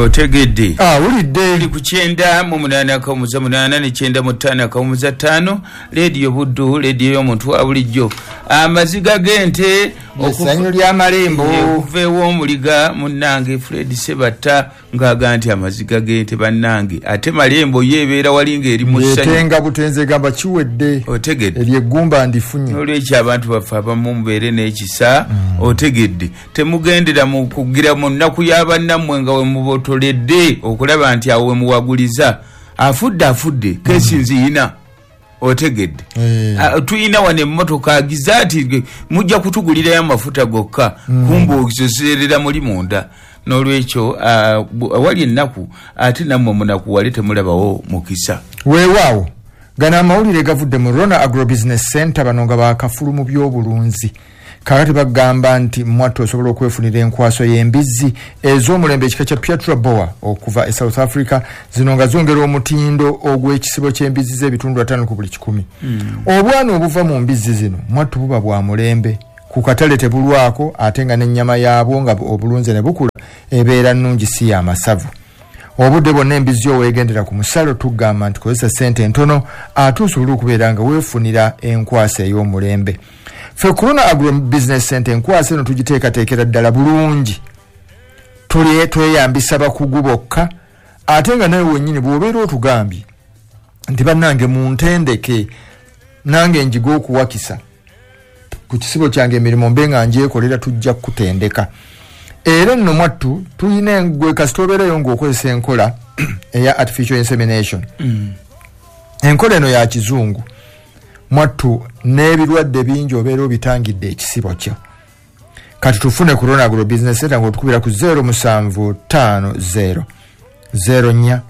Otegedde? Awulidde. Tuli ku 98.8 ne 95.5, Leediyo Buddu, leediyo y'omuntu wa bulijjo. Amaziga g'ente essanyu ly'amalembo. Okuva ew'omuliga munnange Fred Sebatta ng'aga nti amaziga g'ente bannange, ate malembo ye ebeera wali ng'eri mu ssanyu. Etenga butenze egamba kiwedde. Otegedde? Eryo eggumba ndifunye. Olwekyo abantu baffe abamu mubeere n'ekisa, otegedde? Temugendera mu kugira mu nnaku y'abannammwe nga we mubotoledde okulaba nti awo we muwaguliza. Afudde afudde, kesi nziyina, otegedde? Eh. Ah, tuyina wano emmotoka agiza ati mujja kutugulirayo amafuta gokka, kumbe okiseserera muli munda. N'olwekyo awali ennaku ate nammwe munakuwale, temulabawo mukisa. Weewaawo, gano amawulire gavudde mu Rona Agrobusiness Center. Bano nga bakafulu mu byobulunzi. Kakati bagamba nti mwattu osobola okwefunira enkwaso y'embizzi ez'omulembe ekika kya Piatra Boer okuva e South Africa, zino nga zongera omutindo ogw'ekisibo ky'embizzi z'ebitundu 50 ku buli 100. Obwana obuva mu mbizzi zino mwattu buba bwa mulembe, ku katale tebulwako, ate nga n'ennyama yaabwo nga obulunze ne bukula ebeera nnungi, si y'amasavu. Obudde bwonna embizzi oweegendera ku musalo, tugamba nti kozesa sente entono ate osobole okubeera nga weefunira enkwasa ey'omulembe. Ffe ku Rona Agro Business Center enkwasa eno tugiteekateekera ddala bulungi. Tweyambisa bakugu bokka, ate nga nawe wennyini bw'obeera otugambye nti bannange muntendeke nange njiga okuwakisa ku kisibo kyange, emirimu mbe nga njekolera, tujja kukutendeka. Era nno mwattu tulina gwe kasita obeerayo ng'okozesa enkola eya artificial insemination. Enkola eno ya kizungu mwattu, n'ebirwadde bingi obeera obitangidde ekisibo kyo. Kati tufune ku Rona Agro Business Center ng'otukubira ku 0750 04 33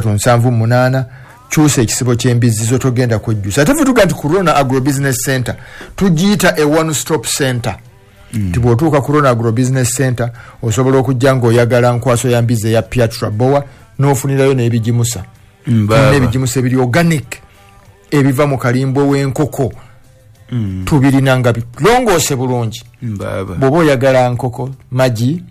78. Kyusa ekisibo ky'embizzi zo, togenda kwejjusa. Ate fe tuga nti ku Rona Agro Business Center tugiyita a one stop center, nti bw'otuuka ku Rona Agro Business Center osobola okujja ng'oyagala nkwaso ya mbizzi eya Piatra Boer n'ofunirayo n'ebigimusa. Tulina ebigimusa ebiri organic ebiva mu kalimbwe w'enkoko, tubirina nga bilongoose bulungi. Bw'oba oyagala nkoko, magi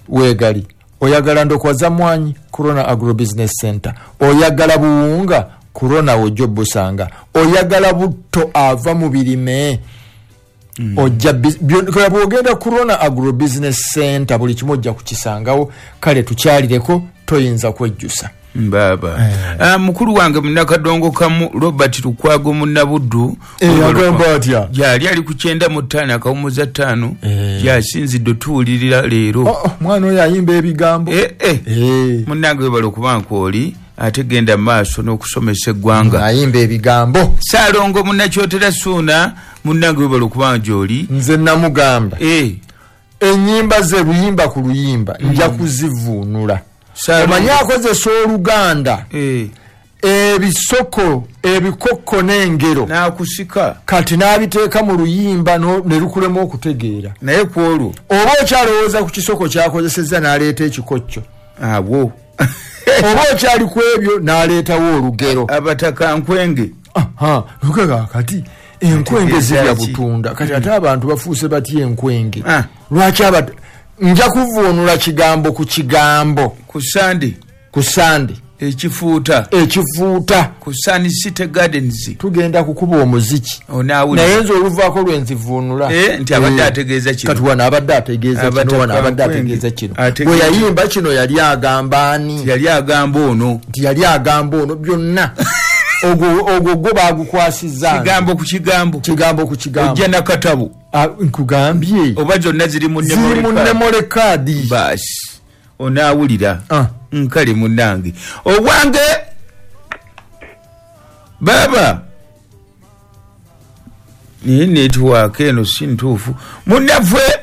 weegali, oyagala ndokwa za mwanyi, ku Rona Agro Business Center. Oyagala buwunga, ku Rona wojja obusanga. Oyagala butto ava mu birime, ojja bw'ogenda ku Rona Agro Business Center buli kimu ojja kukisangawo. Kale tukyalireko, toyinza kwejjusa. Mbaaba. Ah, mukulu wange munakadongo kamu Robert Lukwago Munnabuddu. Eh, agamba atya? Gyali ali ku 95.5, gyasinzidde otuwulirira leero. Oh, mwana oyo ayimba ebigambo. Eh, eh. Munnange webala okuba nkooli, ate genda mu maaso n'okusomesa eggwanga. Ayimba ebigambo. Saalongo Munnakyotera Suuna, munnange webala okuba gyoli. Nze namugamba ennyimba ze luyimba ku luyimba nja kuzivuunula. Omanyi akozesa Oluganda, ebisoko, ebikokko n'engero. N'akusika. Kati n'abiteeka mu luyimba ne lukulema okutegeera. Naye ku olwo oba okyalowooza ku kisoko kyakozesezza, n'aleeta ekikokyo. Abwo Oba okyali ku ebyo, n'aleetawo olugero. Abataka nkwenge. Nukaga kati enkwenge Ategeeza zirya ki? butunda. Kati ate abantu bafuuse batya enkwenge? Ah. Lwaki nja kuvuunula kigambo ku kigambo. Ku Sande. Ku Sande. Ekifuuta. Ekifuuta. Ku Sun City Gardens. Tugenda kukuba omuziki. Onaawulira. Naye nze oluvaako lwenzivuunula. Eh, nti abadde ategeeza kino. Kati wano abadde ategeeza kino, Abataka wano abadde nkwenge. ategeeza kino. Ategeeza. Bwe yayimba kino yali agamba ani? Yali agamba ono. Nti yali agamba ono. Byonna ogwo gwo bagukwasizza nze. Kigambo ku kigambo. Kigambo ku kigambo. Ojja nakatabo. Ah, nkugambye. Oba zonna ziri mu ziri mu memory card. Baasi onaawulira. Ah. Nkale munnange obwange baaba naye network eno si ntuufu munnaffe.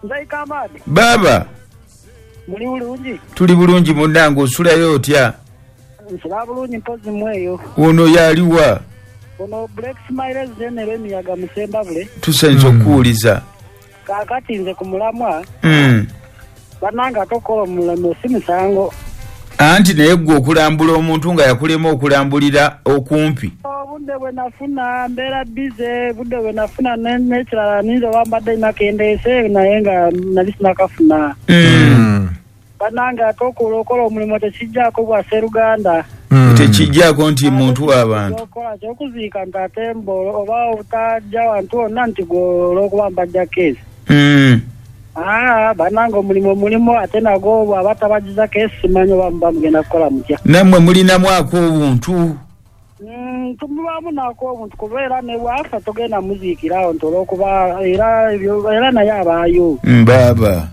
Nzaikamaadi. Baaba. Muli bulungi? Tuli bulungi munnange, osulayo otya? Nsula bulungi, mpozi mweyo. Ono yaliwa? Ono Black Smiles General emiyaga musembabule. Tusanyusa okuwuliza. Kaakati nze ku mulamwa, bannange ate okukola omulamo si musango. Anti naye gwe okulambula omuntu nga yakulema okulambulira okumpi. Obudde bwe nafuna mbeera bize, budde bwe nafuna n'ekirala ninza oba mbadde nakendeese naye nga nali sinakafuna. Bannange ate okola omulimu tekijjaako bwa sseruganda. Tekijjaako nti muntu w'abantu. Okola kyokuziika nti ate oba obutajja wantu wonna nti gwe olw'okuba mbajja keesi. Bannange omulimu ate nagwo bw'aba tabagiza keesi simanyi oba muba mugenda kukola mutya. Nammwe mulinamu ak'obuntu. Tumubaamu n'ak'obuntu kuba era ne bw'afa togenda muziikirawo nti olw'okuba era naye abaayo. Baaba.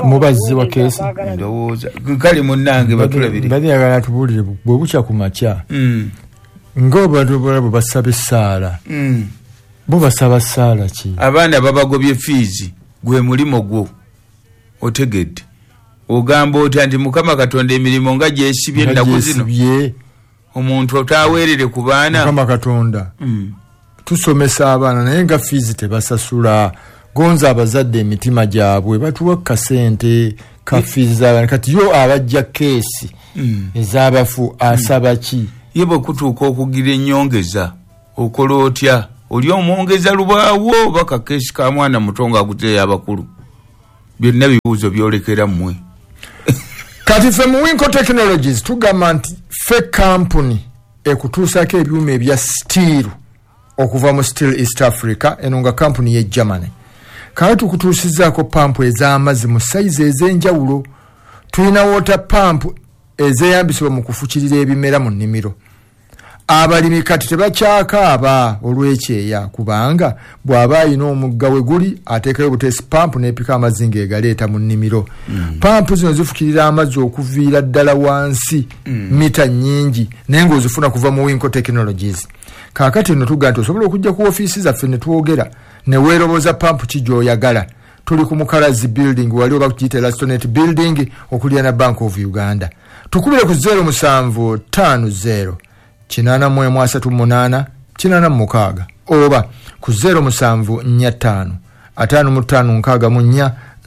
Mubazzi wa keesi. Ndowooza. Kale munnange batulabire. Mbadde njagala tubuulire bwe bukya ku makya. Ng'abantu bwe basaba essaala. Bo basaba ssaala ki? Abaana babagobye fiizi gwe mulimo gwo otegedde. Ogamba otya nti Mukama Katonda emirimu nga gyesibye ennaku zino. Omuntu otaweerere ku baana. Mukama Katonda. Tusomesa abaana naye nga fiizi tebasasula. Gonza abazadde emitima gyabwe batuwa kasente ka fiizi z'abaana. Kati yo abajja keesi ez'abafu asaba ki? Ye bwe kutuuka okugira ennyongeza okola otya? Oli omwongeza lubaawo oba kakeesi ka mwana muto ng'aguteeyo abakulu? Byonna bibuuzo byolekera mmwe. Kati ffe mu Winco Technologies tugamba nti ffe kampuni ekutuusaako ebyuma ebya steel okuva mu Steel East Africa, eno nga kampuni ye Germany. Kale tukutuusizzaako pampu ez'amazzi mu sayizi ez'enjawulo. Tulina water pump ezeeyambisibwa mu kufukirira ebimera mu nnimiro. Abalimi kati tebakyakaaba olw'ekyeya kubanga bw'aba ayina omugga we guli ateekayo buteesi pampu n'epika amazzi ng'egaleeta mu nnimiro. Pampu zino zifukirira amazzi okuviira ddala wansi mita nnyingi naye ng'ozifuna kuva mu Winco Technologies. Kaakati nno tugamba nti osobola okujja ku ofiisi zaffe ne twogera ne weeroboza pampu ki gy'oyagala. Tuli ku Mukalazi building wali oba kugiyita Elastonet building okuliraana Bank of Uganda. Tukubire ku 0750 813 86 oba ku 0745 55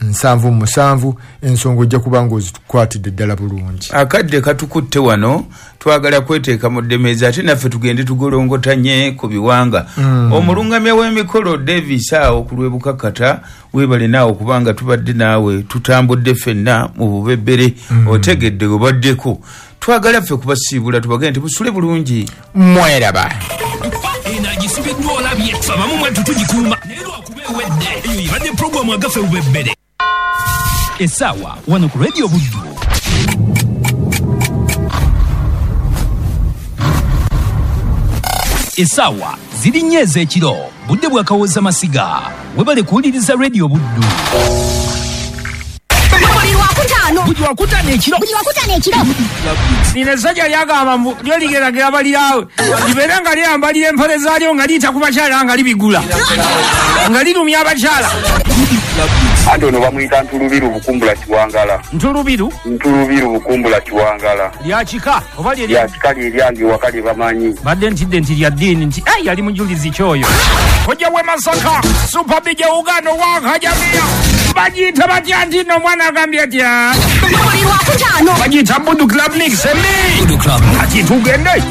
64 77. Ensonga ojja kuba ng'ozikwatidde ddala bulungi. Akadde katukutte wano twagala kweteeka mu ddemeeza ate naffe tugende tugolongotanye ku biwanga. Omulungamya w'emikolo Davis awo ku lw'e Bukakata weebale naawe kubanga tubadde naawe tutambudde ffenna mu bubebbere otegedde obaddeko. Twagala ffe kubasiibula tubagende nti busule bulungi. Mweraba. Eno agisibiddwa olabye abamu mwattu tugikuuma naye lwakuba ewedde. Eyo ebadde pulogulaamu agaffe bubebbere. Essaawa wano ku Radio Buddu. Essaawa ziri 4 ez'ekiro, budde bwa Kawooza Masiga. Webale kuwuliriza Radio Buddu. Buli lwakutaano ekiro. Lino essajja lyagamba mbu lyo ligeragera baliraawe libeere nga lyambalira empale zaalyo nga liyita ku bakyala nga libigula nga lirumya abakyala. Anti ono bamuyita Ntulubiru Bukumbula Kiwangala. Ntulubiru? Ntulubiru Bukumbula Kiwangala. Lya kika oba lye lya kika lye lyange ewaka lye bamanyi. Badde ntidde nti lya ddiini nti yali mujulizi kyoyo. Kojja w'e Masaka, Super BJ Uganda owakajamia. Bagiyita batya nti nno omwana agambye atya? Buli lwakutaano. Bagiyita Budu Club Mix. Budu Club. Kati tugende.